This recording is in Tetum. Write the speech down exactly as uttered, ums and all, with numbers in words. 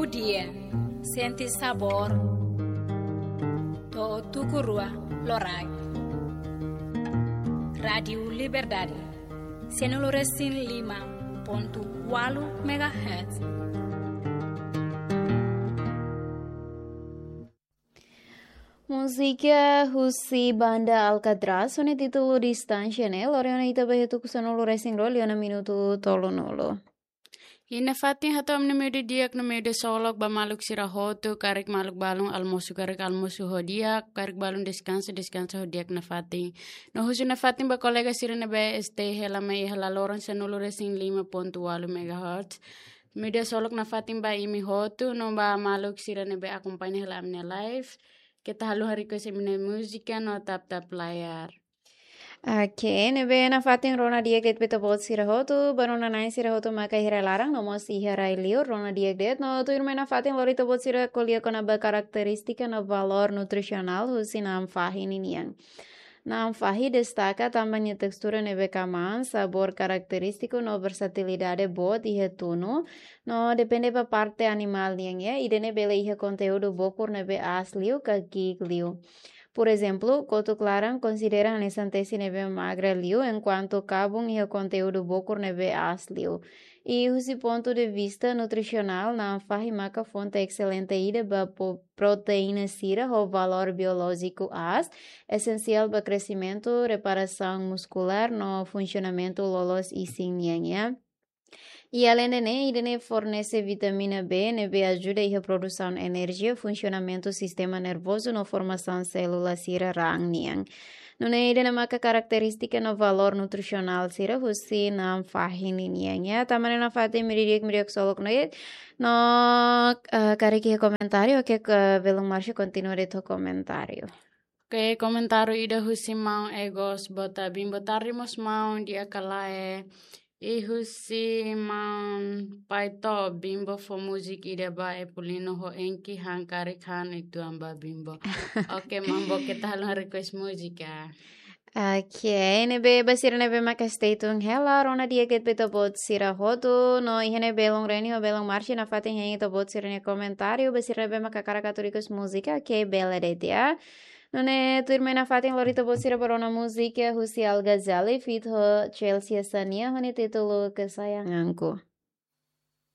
Dia, sente sabór, to'o tuku rua loraik. Rádiu Liberdade, sianulu resin lima pontu ualu megahertz. Múzika husi banda Alcatraz, ho nia títulu Distánsia ne'e, lori ona ita ba iha tuku sanulu resin rua, liu ona minutu tolunulu. Iha nafatin hato'o ami-nia meiudia di'ak no meiudia solok ba maluk sira hotu, karik maluk balun almosu, karik almosu ho di'ak, karik balun deskansa, deskansa ho di'ak nafatin. No husu nafatin ba kolega sira ne'ebé stay hela mai iha laloran sanulu resin lima pontu ualu megahertz. Meiudia solok nafatin ba imi hotu, no ba maluk sira ne'ebé akompaña hela ami-nia live. Keta haluha request imi-nia múzika no tap-tap layar. Oke, ne'ebé nafatin rona di'ak de'it ba ita-boot sira hotu, ba rona na'in sira hotu maka iha rai laran, no mós iha rai liur, rona di'ak de'it, no tuirmai nafatin lori ita-boot sira ko'alia kona-ba karakterístika no valór nutrisionál husi na'an fahi ninian. Na'an fahi destaka tanba nia testura ne'ebé kamaan, sabór karakterístiku no versatilidade boot iha tunu, no depende ba parte animál nian, ya, ida-ne'e bele iha konteúdu bokur ne'ebé aas liu ka ki'ik liu. Por ezemplu, kotuk laran konsidera hanesan tesi ne'ebé magra liu, enkuantu kabun iha konteúdu bokur ne'ebé aas liu. I husi pontu de vista nutrisionál, na'an fahi maka fonte excelente ida ba po-, proteína sira ho valór biolójiku aas, esensiál ba kresimentu, reparasaun muskulár no funsionamentu loloos isin nian, ya. I aleinde ne'e, ida-ne'e fornese vitamina B, ne'ebé ajuda iha produsaun enerjia, funsionamentu sistema nervozu no formasaun sélula sira raan nian. Nune'e ida-ne'e maka karakterístika no valór nutrisionál sira husi na'an fahi ninian, ya. Tanba ne'e nafatin imi di'ak, imi di'ak solok no de'it. No, eh, karik iha komentáriu, oke, ke belun Márcio kontinua de'it ho komentáriu. Oke, komentáriu ida husi maun Egos Bota Bimbo, tarde mós maun, di'ak ka lae. I husi maun Paito Bimbo, fó múzika ida ba Epulino ho Enki, han karik han uitoan ba Bimbo. Oke, maun, keta haluha request múzika. Oke, ne'ebé ba sira ne'ebé maka stay tune hela, rona di'ak de'it ba ita-boot sira hotu, no iha ne'e belun Reni ho belun Márcio nafatin hein ita-boot sira-nia komentáriu, ba sira ne'ebé maka hakarak atu request múzika, oke, bele de'it, ya. Nune'e tuirmai nafatin lori ita-boot sira ba rona múzika husi Al Ghazali feat ho Chelsea Sania, ho nia títulu Kesayanganku.